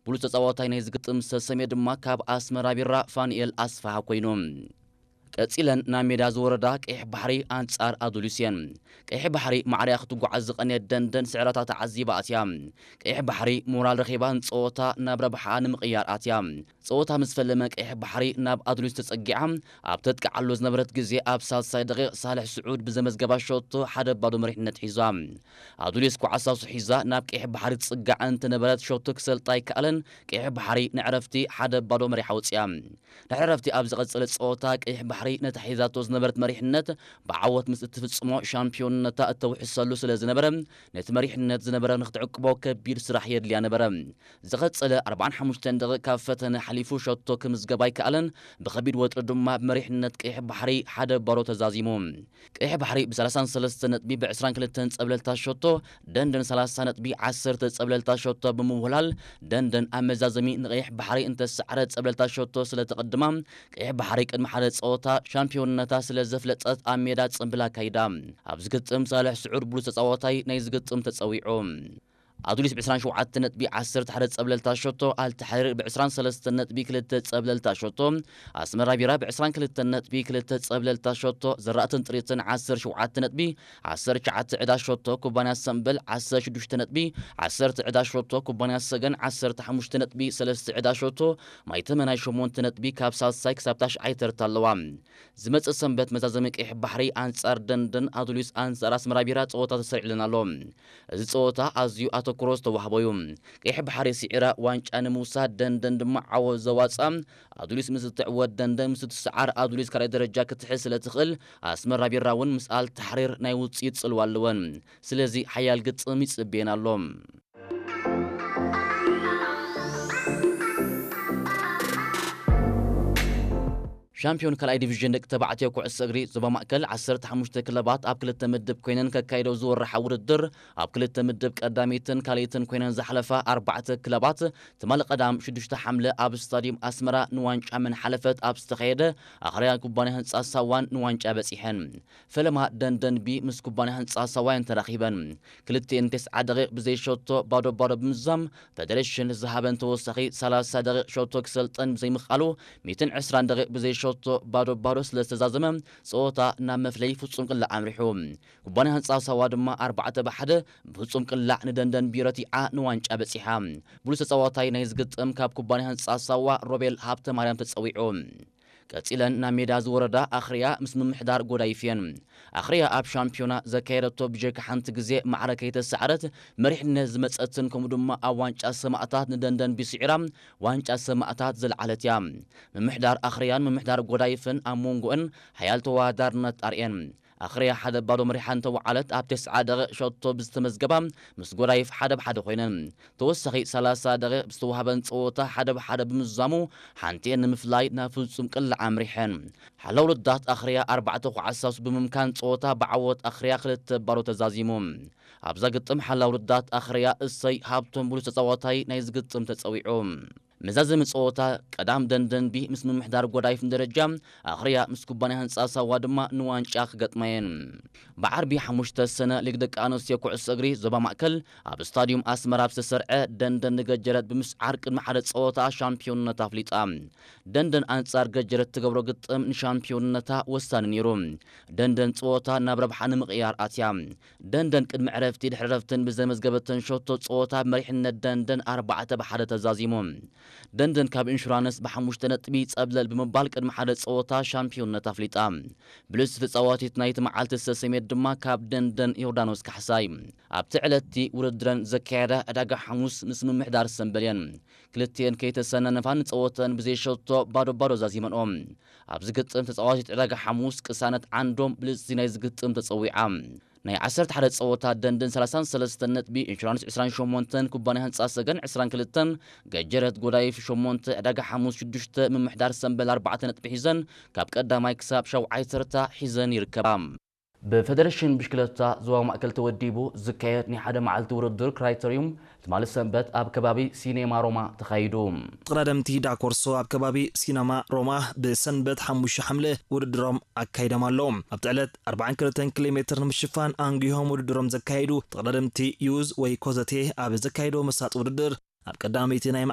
ብሉጽ ተጻዋታይ ናይ ዝግጥም ዝተሰምየ ድማ ካብ ኣስመራ ቢራ ፋንኤል ኣስፋሃ ኮይኑ። ቀጺለን ናብ ሜዳ ዝወረዳ ቀይሕ ባሕሪ ኣንጻር ኣዱሊስ እየን። ቀይሕ ባሕሪ ማዕርያ ክትጓዓዝ ዝቐንየት ደንደን ስዕራታ ተዓዚባ ኣትያ። ቀይሕ ባሕሪ ሞራል ረኺባ ንጸወታ ናብ ረብሓ ንምቕያር ኣትያ። ጸወታ ምስ ፈለመ ቀይሕ ባሕሪ ናብ ኣዱሊስ ተጸጊዓ ኣብ ተጥቅዓሉ ዝነበረት ግዜ ኣብ ሳልሳይ ደቂቕ ሳልሕ ስዑድ ብዘመዝገባ ሸቶ ሓደ ባዶ መሪሕነት ሒዛ። ኣዱሊስ ኳዕሳሱ ሒዛ ናብ ቀይሕ ባሕሪ ትጽጋዕ እንትነበረት ሸቶ ክሰልጣ ኣይከኣለን። ቀይሕ ባሕሪ ንዕረፍቲ ሓደ ባዶ መሪሓ ወጽያ። ድሕሪ ዕረፍቲ ኣብ ዝቐጸለ ጸወታ ቀይሕ ባሕሪ ነታ ሒዛቶ ዝነበረት መሪሕነት ብዓወት ምስ እትፍጽሞ ሻምፒዮንነታ እተውሕሰሉ ስለ ዝነበረ ነቲ መሪሕነት ዝነበረ ንክትዕቅቦ ከቢድ ስራሕ የድልያ ነበረ። ዝቐጸለ ኣርባዓን ሓሙሽተን ደቂቕ ካብ ፈተነ ሓሊፉ ሸቶ ክምዝገብ ኣይከኣለን። ብኸቢድ ወጥሪ ድማ ብመሪሕነት ቀይሕ ባሕሪ ሓደ ባዶ ተዛዚሙ። ቀይሕ ባሕሪ ብ ሰላሳን ሰለስተን ነጥቢ ብ ዕስራን ክልተን ጸብለልታ ሸቶ ደንደን ሰላሳ ነጥቢ ዓሰርተ ጸብለልታ ሸቶ ብምውህላል ደንደን ኣብ መዛዘሚ ንቀይሕ ባሕሪ እንተሰዓረ ጸብለልታ ሸቶ ስለ ተቐድማ ቀይሕ ባሕሪ ቅድሚ ሓደ ጸወታ ሻምፒዮንነታ ስለ ዘፍለጠት ኣብ ሜዳ ጽምብል ኣካይዳ። ኣብ ዝግጥም ሳልሕ ስዑድ ብሉጽ ተጻዋታይ ናይ ዝግጥም ተጸዊዑ። ኣዱሊስ ብ ዕስራን ሸውዓተን ነጥቢ ዓሰርተ ሓደ ጸብለልታ ሸቶ፣ ኣልተሓሪር ብ ዕስራን ሰለስተን ነጥቢ ክልተ ጸብለልታ ሸቶ፣ ኣስመራ ቢራ ብ ዕስራን ክልተን ነጥቢ ክልተ ጸብለልታ ሸቶ፣ ዘራእትን ጥሪትን ዓሰርተ ሸውዓተ ነጥቢ ዓሰርተ ትሽዓተ ዕዳ ሸቶ፣ ኩባንያ ሰምበል ዓሰርተ ሽዱሽተ ነጥቢ ዓሰርተ ዕዳ ሸቶ፣ ኩባንያ ሰገን ዓሰርተ ሓሙሽተ ነጥቢ ሰለስተ ዕዳ ሸቶ፣ ማይተመናይ ሸሞንተ ነጥቢ ካብ ሳልሳይ ክሳብ ታሽዓይ ተርታ ኣለዋ። ዝመጽእ ሰንበት መዛዘሚ ቀይሕ ባሕሪ ኣንጻር ደንደን፣ ኣዱሊስ ኣንጻር ኣስመራ ቢራ ጸወታ ተሰሪዕለን ኣሎ። እዚ ጸወታ ኣዝዩ ኣተኩሮ ዝተዋህቦ እዩ። ቀይሕ ባሕሪ ስዒራ ዋንጫ ንምውሳድ ደንደን ድማ ዓወት ዘዋጽኣ ኣዱሊስ ምስ እትዕወት ደንደን ምስ እትስዓር ኣዱሊስ ካልኣይ ደረጃ ክትሕዝ ስለ ትኽእል ኣስመራ ቢራ እውን ምስ ኣል ታሕሪር ናይ ውጽኢት ጽልዋ ኣለወን። ስለዚ ሓያል ግጥም ይጽብየን ኣሎ። ሻምፒዮን ካልኣይ ዲቪዥን ደቂ ተባዕትዮ ኩዕሶ እግሪ ዞባ ማእከል ዓሰርተ ሓሙሽተ ክለባት ኣብ ክልተ ምድብ ኮይነን ከካይደው ዝወርሓ ውድድር ኣብ ክልተ ምድብ ቀዳሚትን ካልኣይትን ኮይነን ዝሓለፋ ኣርባዕተ ክለባት ትማሊ ቀዳም ሽዱሽተ ሓምለ ኣብ ስታዲየም ኣስመራ ንዋንጫ መን ሓለፈት ኣብ ዝተኻየደ ኣኽርያ ኩባንያ ህንጻ ሳዋን ንዋንጫ በጺሐን። ፈለማ ደንደን ቢ ምስ ኩባንያ ህንጻ ሳዋን ተራኺበን። ክልቲኤን ተስዓ ደቂቕ ብዘይ ሸቶ ባዶ ባዶ ብምዛም ፈደረሽን ዝሃበን ተወሳኺ ሰላሳ ደቂቕ ሸቶ ክሰልጠን ብዘይምኽኣሉ ሚእትን ዕስራን ደቂቕ ብዘይ ሸቶ ባዶ ባዶ ስለ ዝተዛዘመ ጸወታ ናብ መፍለይ ፍጹም ቅላዕ ኣምሪሑ። ኩባንያ ህንጻ ሳዋ ድማ ኣርባዕተ ብሓደ ብፍጹም ቅላዕ ንደንደን ቢ ረቲዓ ንዋንጫ በጺሓ። ብሉጽ ተጻዋታይ ናይ ዝግጥም ካብ ኩባንያ ህንጻ ሳዋ ሮቤል ሃብተ ማርያም ተጸዊዑ። ቀጺለን ናብ ሜዳ ዝወረዳ ኣኽርያ ምስ ምምሕዳር ጎዳይፍ እየን። ኣኽርያ ኣብ ሻምፒዮና ዘካየደቶ ብጀካ ሓንቲ ግዜ ማዕረ ከይተሳዕረት መሪሕነት ዝመጸትን ከምኡ ድማ ኣብ ዋንጫ ሰማእታት ንደንደን ቢስዒራ ዋንጫ ሰማእታት ዘልዓለት እያ። ምምሕዳር ኣኽርያን ምምሕዳር ጎዳይፍን ኣብ መንጎእን ሓያል ተወዳዳርነት ኣርእየን። ኣኽርያ ሓደ ባዶ መሪሓ እንተወዓለት ኣብ ተስዓ ደቂቕ ሸቶ ብዝተመዝገባ ምስ ጎዳይፍ ሓደ ብሓደ ኮይነን። ተወሳኺ ሰላሳ ደቂቕ ብዝተዋህበን ጸወታ ሓደ ብሓደ ብምዛሙ ሓንቲኤን ንምፍላይ ናብ ፍጹም ቅላዕ ኣምሪሐን። ሓላው ልዳት ኣኽርያ ኣርባዕተ ኳዕሳሱ ብምምካን ጸወታ ብዓወት ኣኽርያ ክልተ ባዶ ተዛዚሙ። ኣብዛ ግጥም ሓላው ልዳት ኣኽርያ እሰይ ሃብቶም ብሉጽ ተጻዋታይ ናይ ዝግጥም ተጸዊዑ። መዛዘሚ ጸወታ ቀዳም ደንደን ቢ ምስ ምምሕዳር ጎዳይፍ ንደረጃ ኣኽርያ ምስ ኩባንያ ህንጻ ሳዋ ድማ ንዋንጫ ክገጥማ እየን። ብዓርቢ ሓሙሽተ ሰነ ሊግ ደቂ ኣንስትዮ ኩዕሶ እግሪ ዞባ ማእከል ኣብ ስታዲዩም ኣስመራ ኣብ ዝተሰርዐ ደንደን ንገጀረት ብምስዓር ቅድሚ ሓደ ጸወታ ሻምፒዮንነት ኣፍሊጣ። ደንደን ኣንጻር ገጀረት ትገብሮ ግጥም ንሻምፒዮንነታ ወሳኒ ነይሩ። ደንደን ጸወታ ናብ ረብሓ ንምቕያር ኣትያ። ደንደን ቅድሚ ዕረፍቲ ድሕሪ ዕረፍትን ብዘመዝገበተን ሸቶ ጸወታ ብመሪሕነት ደንደን ኣርባዕተ ብሓደ ተዛዚሙ። ደንደን ካብ ኢንሹራንስ ብሓሙሽተ ነጥቢ ጸብለል ብምባል ቅድሚ ሓደ ጸወታ ሻምፒዮንነት ኣፍሊጣ። ብልጽቲ ተጻዋቲት ናይቲ መዓልቲ ዝተሰምየት ድማ ካብ ደንደን ዮርዳኖስ ካሕሳይ። ኣብቲ ዕለትቲ ውድድረን ዘካየዳ ዕዳጋ ሓሙስ ምስ ምምሕዳር ሰምበል እየን። ክልቲኤን ከይተሰነነፋ ንጸወተን ብዘይ ሸቶ ባዶ ባዶ ዛዚመንኦ። ኣብዚ ግጥም ተጻዋቲት ዕዳጋ ሓሙስ ቅሳነት ዓንዶም ብልጽቲ ናይ ዝግጥም ተጸዊዓ። ናይ ዓሰርተ ሓደ ጸወታ ደንደን ሰላሳን ሰለስተን ነጥቢ፣ ኢንሹራንስ ዕስራን ሸሞንተን፣ ኩባንያ ህንጻ ሰገን ዕስራን ክልተን፣ ገጀረት ጎዳይፍ ሸሞንተ፣ ዕዳጋ ሓሙስ ሽዱሽተ፣ ምምሕዳር ሰምበል ኣርባዕተ ነጥቢ ሒዘን ካብ ቀዳማይ ክሳብ ሻውዓይ ተርታ ሒዘን ይርከባ። ብፈደረሽን ብሽክለታ ዞባ ማእከል ተወዲቡ ዝካየድ ናይ ሓደ መዓልቲ ውድድር ክራይተሪዩም ትማሊ ሰንበት ኣብ ከባቢ ሲኔማ ሮማ ተኻይዱ። ተቐዳደምቲ ዳኮርሶ ኣብ ከባቢ ሲነማ ሮማ ብሰንበት ሓሙሽተ ሓምለ ውድድሮም ኣካይዶም ኣለዉ። ኣብቲ ዕለት ኣርባዓን ክልተን ኪሎ ሜትር ንምሽፋን ኣንጊሆም ውድድሮም ዘካየዱ ተቐዳደምቲ ዩዝ ወይ ኮዘቴ ኣብ ዘካየዶ መሳጢ ውድድር ኣብ ቀዳመይቲ ናይ